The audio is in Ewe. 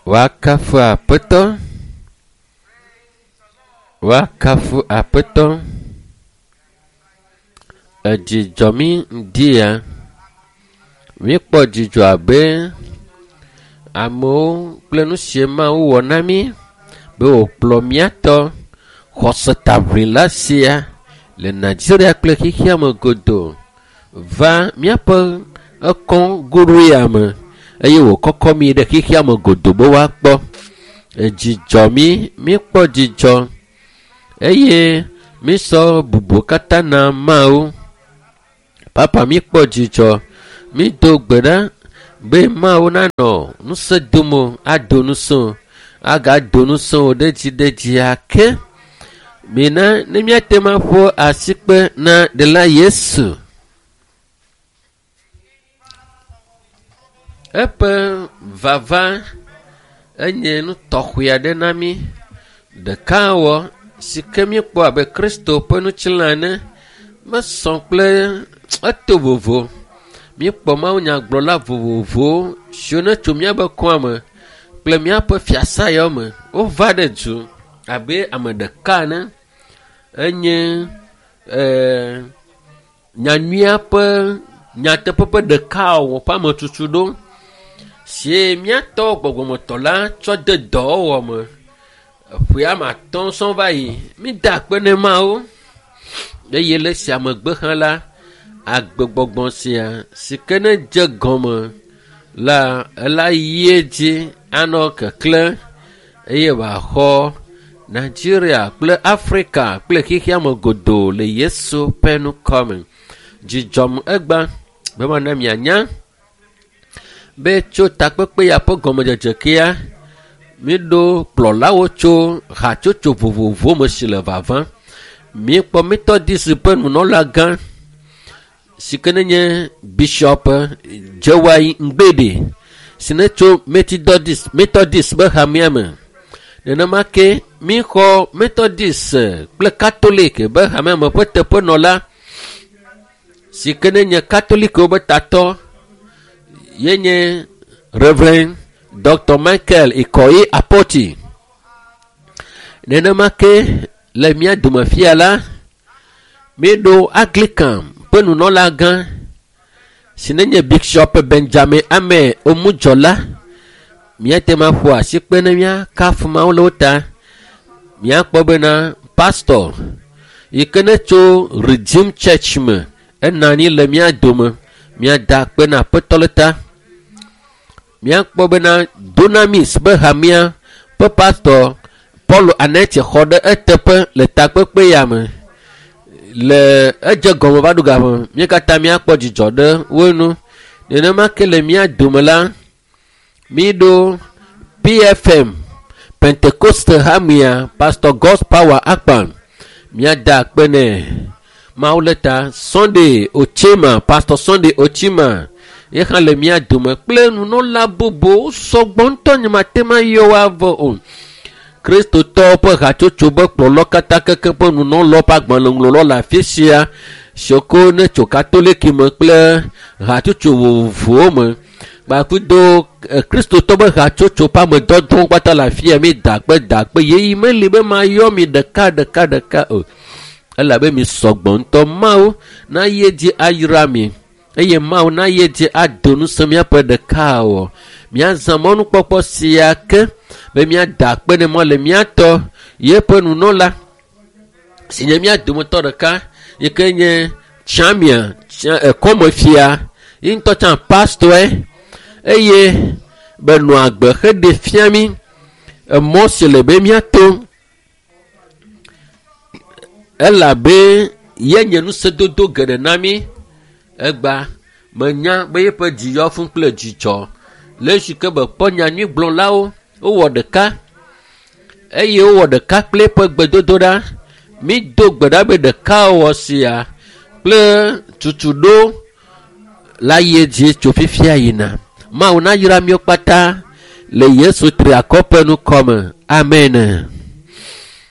Woakafu Aƒetɔ. Woakafu Aƒetɔ. Edzi dzɔ mí ŋdi ya. Míekpɔ dzidzɔ abe amewo kple nu si Mawu wɔ na mí be wòkplɔ mía tɔ xɔsetaʋlila sia le Nigeria kple xexea me godoo va míaƒe ekɔ goɖoe ya me eye wòkɔkɔ mí ɖe xexea me godoo be woakpɔ. Edzi dzɔ mí, míekpɔ dzidzɔ eye mísɔ bubu katã na Mawu. Papa míekpɔ dzidzɔ, mído gbe ɖa be Mawu nanɔ ŋusẽ dom wò, ado ŋusẽ wò, agado ŋusẽ wò ɖe edzi ɖe edzi ake. Mina ne míate ŋu aƒo asikpe na Ɖela Yesu. Eƒe vava enye nu tɔxɛ aɖe na mí. Ɖekawɔ si ke míekpɔ abe Kristo ƒe ŋutilã ene mesɔ kple eto vovo. Míekpɔ mawunyagblɔla vovovowo siwo netso míaƒe kɔa me kple míaƒe fiasa yawo me. Wova ɖe du abe ame ɖeka ene. Enye ee nyanyuia ƒe nyateƒe ƒe ɖekawɔwɔ ƒe ametutu ɖo sie míatɔ gbɔgbɔmetɔ la tsɔ de dɔwɔwɔ me. Eƒe ame atɔ̃ sɔŋ va yi. Mída akpe ne Mawu eye le esia megbe hã la, agbegbɔgbɔ sia si ke ne dze gɔme la ela yi edzi anɔ keklẽ eye wòaxɔ Nigeria kple Afrika kple xexea me godoo le Yesu ƒe ŋkɔ me. Dzidzɔm egba be mana mianya be tso takpekpe ya ƒe gɔmedzedze kea, míeɖo kplɔlawo tso hatsotso vovovowo me si le vava. Míekpɔ Methodist ƒe nunɔlagã si ke nenye Bishop Jewai Ngbede si ne tso Methodist Methodist ƒe hamea me. Nenema ke míexɔ Methodist kple Catholic ƒe hamea me ƒe teƒenɔla si ke nenye Katolikwo ƒe tatɔ ye nye Reverend Dr. Michael Ikoyi Apoti. Nenema ke le mía dome fia la, míeɖo Anglican ƒe nunɔlagã si nenye Bishop Benjamin Ame Omudzɔla. Míate ŋu aƒo asi kpe ne míakafu Mawu le wo ta. Míakpɔ bena pastor yi ke ne tso Redeem Church me enɔ anyi le mía dome. Míada akpe na Aƒetɔ le ta. Míakpɔ bena Dunamis ƒe hamea ƒe pastor Paul Anetse xɔ ɖe eteƒe le takpekpe ya me. Le edze gɔme va ɖo game, mí katã míakpɔ dzidzɔ ɖe wo ŋu. Nenema ke le mía dome la, míeɖo PFM Pentecoste hamea Pastor God's Power Akpan. Míada akpe nɛ. Mawu le ta Sunday Ochima, Pastor Sunday Ochima ye hã le mía dome kple nunɔla bubuwo sɔgbɔ ŋutɔ nyemate ŋu ayɔ wo avɔ o. Kristotɔwo ƒe hatsotso be kplɔlɔ katã keke ƒe nunɔlɔ ƒe agbalẽŋlɔlɔ le afi sia siwo ke ne tso katoliki me kple hatsotso vovovowo me kpakudo kristotɔ ƒe hatsotso ƒe amedɔdɔwo kpata le afi ya mi da akpe da akpe yeyi meli be mayɔ mi ɖeka ɖeka ɖeka o elabe mi sɔgbɔ ŋutɔ Mawu nayi edzi ayra mi eye Mawu nayi edzi ado ŋusẽ míaƒe ɖekawɔ. Míazã mɔnukpɔkpɔ sia ke be míada akpe ne mɔ le mía tɔ yeƒe nunɔla si nye mía dometɔ ɖeka yi ke nye Tsamia ekɔmefia ye ŋutɔ tsã pastɔe eye be nɔ agbe heɖe fia mí emɔ si le be míato elabe ye nye ŋusẽdodo geɖe na mí. Egba menya be yeƒe dzi yɔ fũu kple dzidzɔ le esi ke be kpɔ nyanyuigblɔlawo wowɔ ɖeka eye wowɔ ɖeka kple eƒe gbedodoɖa. Mído gbe ɖa be ɖekawɔwɔ sia kple tutuɖo la yi edzi tso fifia yina. Mawu nayra míwo kpata le Yesu triakɔ ƒe ŋkɔ me. Amen.